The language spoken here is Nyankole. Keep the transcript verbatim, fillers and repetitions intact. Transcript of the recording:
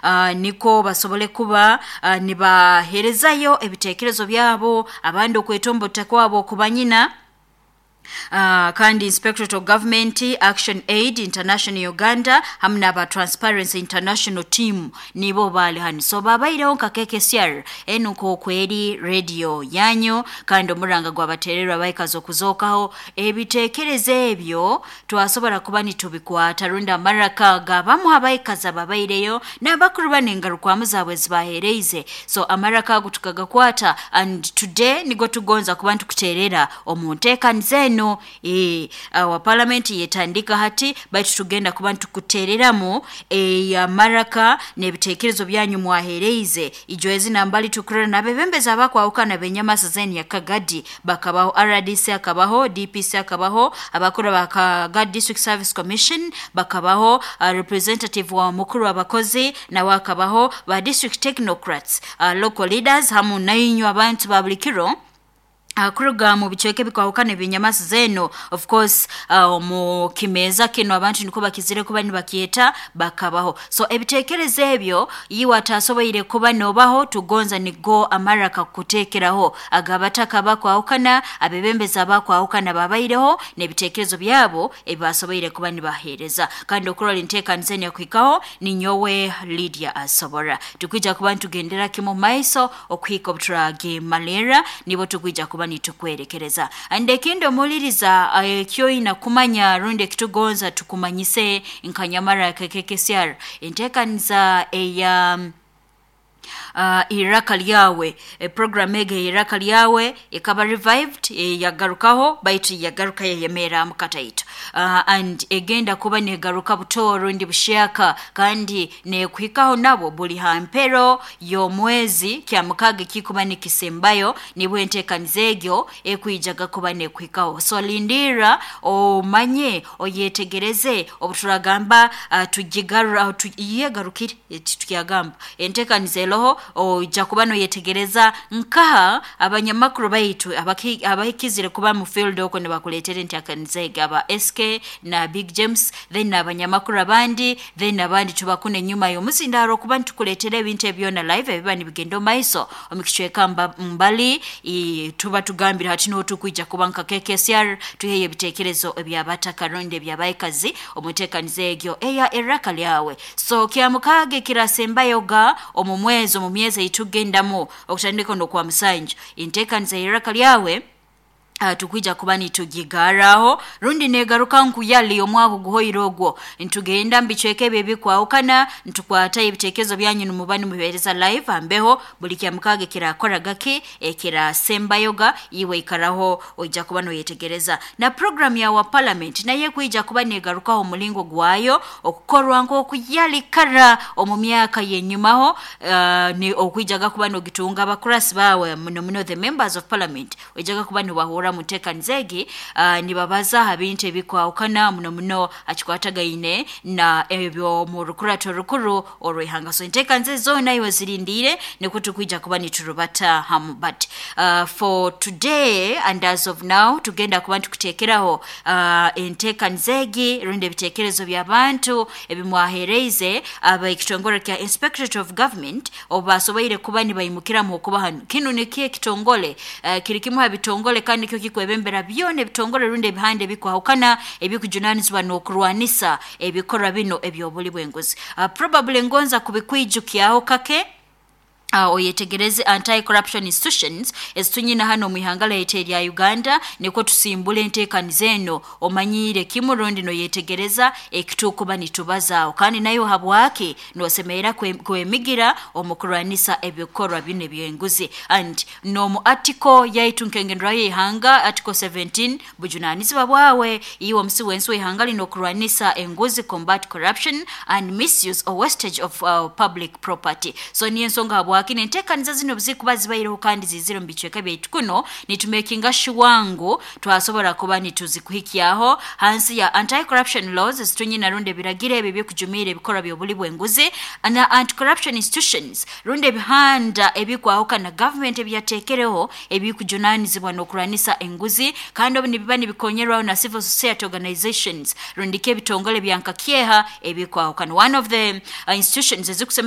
uh, niko basobole kuba uh, nibaherezayo ebitekerezo byabo, abandi okwetombota kwabo okubanyina. Uh, kandi Inspectorate of Government, Action Aid International Uganda hamwe n'aba Transparency International team nibo bali hano. So babaireho nka K K C R, enu nkokweri radio yanyu, kandi omuranga gwabatererwa baikaza okuzookaho. Ebitekerezo ebyo twasobora kuba nitubikwata, rundi amaraka gabamu abaikaza babaireyo n'abakuru banengarukwamu zaabwe zibahereize. So amaraka ago tukagakwata, and today nigo tugonza kuba nitukuterera omu nteekaniza eno. e, wa parliament yetandika hati, baitu tugenda kuba nitukutereramu e, amaraka n'ebitekerezo byanyu mwahereize. Ijo ezi nambali tukurora n'abebembezi abakwahukana benyamasa zeni ya Kagadi bakabaho, R D C akabaho, D P C akabaho, abakuru ba Kagadi District Service Commission bakabaho, uh, representative wa mukuru w'abakozi nawe akabaho, ba district technocrats, uh, local leaders, hamu nainywe abantu ba buli kiro Uh, kuruga mu bicweka ebikwahukana ebinyamasi zeno. Of course, uh, mu kimeza kino abantu niko bakizire kuba nibakyeta bakabaho. So ebitekerezo ebyo iwe atasoboire kuba nobaho, tugonza nigo amaraka kutekeraho agabataka bakwahukana, abebembezi abakwahukana babaireho n'ebitekerezo byabo ebibasoboire kuba nibahereza. Kandi okurora enteekaniza enu yakuhikaho ninyowe Lydia Asobora. Tukwija kuba nitugendera kimu maiso okuhika obuturagimalira, nibo tukwija kuba nitukwerekereza. And ekindi omuliriza, ekyoina kumanya rundi ekitugonza tukumanyise nkanyamara K K C R, enteekaniza eya uh, Iraka Lyawe, e program ege Iraka Lyawe ekaba revived, e, yagarukaho, baitu yagaruka yayemera mukataito, uh, and egenda kuba negaruka buto rundi bushyaka, kandi nekuhikaho nabo buli hampero y'omwezi kya mukaga kikuba nikisembayo, nibwo enteekaniza egyo ekwijaga kuba nekuhikaho. So lindira, omanye, oyetegereze obuturagamba uh, tugigarura tu, yegarukire tukyagamba enteekaniza eroho, ojja kuba noyetegereza nkaha abanyamakuru baitu abahikizire kuba mu field okwo nibakuleetera enteekaniza egi, aba S K na Big James, then abanyamakuru abandi, then abandi tubakuna enyuma y'omuzindaro okuba nitukuleetera ebintu ebyona live ebiba nibigenda omu maiso omu kicweka mbali. Tuba tugambire hati niho tukwija kuba nka K K C R tuheyo ebitekerezo ebyabataka rundi ebyabaikazi omu nteekaniza egyo eya Eraka Lyawe. So kyamukaaga ekirasembayoga omu mwezi, omu myezi eitugendamu okutandika n'okwa musanju, enteekaniza y'Eraka Lyawe Uh, tukwija kuba nitugigaraho rundi negaruka nkuyali omwaka guhoire ogwo. Ntugenda mbicweka ebyo ebikwahukana, ntukwata ebitekerezo byanyu nimuba nimuhereza live ambeho buli kyamukaga kirakoraga ki ekirasembayoga. Iwe ikaraho, oija kuba noyetegereza. Na program ya wa parliament naye kwija kuba negarukaho omulingo gwayo okukorwa nk'okuyali kara omu myaka yenyumaho, uh, ni okwijaga kuba nogitunga abakurasi bawe, muno muno the members of parliament, oijaga kuba nibahura muteekaniza egi, uh, nibabaza ha bintu ebikwahukana, muno muno akikwatagaine na ebyo mu rukurato rukuru orw'ihanga. So enteekaniza zoona iwe zirindire, nikwo tukwija kuba niturubata hamu. But uh, for today and as of now, tugenda kuba nitukuteekeraho uh, enteekaniza egi rundi ebitekerezo by'abantu ebimwahereize aba ekitongore kya Inspectorate of Government obu basoboire kuba nibaimukiramu okuba hano. Kinu nikyo ekitongole, uh, kiri kimu ha bitongole kandi nikyo kikwebembera byona ebitongole rundi ebihanda ebikwahukana ebikujunanizibwa n'okurwanisa ebikorwa bino eby'obuli bw'enguzi. uh, probably ngonza kubikwijukyaho kake, Uh, oyetegereze anti-corruption institutions ezitunyina hano mu ihanga lyaitu erya Uganda, niko tusimbula enteekaniza eno, omanyiire kimu rundi noyetegereza ekitukuba nitubazaaho, kandi nayo habwaki nosemerera kwemigira omu kurwanisa ebikorwa bino ebyenguzi. And n'omu article yaitu nkengenderayo y'ihanga, article seventeen, bujunanizibwa bwawe iwe omusi wensi w'ihanga lino okurwanisa enguzi, combat corruption and misuse or wastage of uh, public property. So niyo ensonga habwaki enteekaniza zino zikuba zibaireho kandi zizire mu bicweka byaitu kuno, nitumakinga sure ngu twasobora kuba nituzikuhikyaho hansi ya anti-corruption laws ezitunyina rundi ebiragiro ebyo ebyokujumiira ebikorwa by'obuli bw'enguzi, na anti-corruption institutions rundi ebihanda ebikwahukana government ebyateekereho ebikujunanizibwa n'okurwanisa enguzi, kandi obu nibiba nibikonyerwaho na civil society organizations rundi ke ebitongole byankakyeha ebikwahukana. One of the uh, institutions ezikusemerera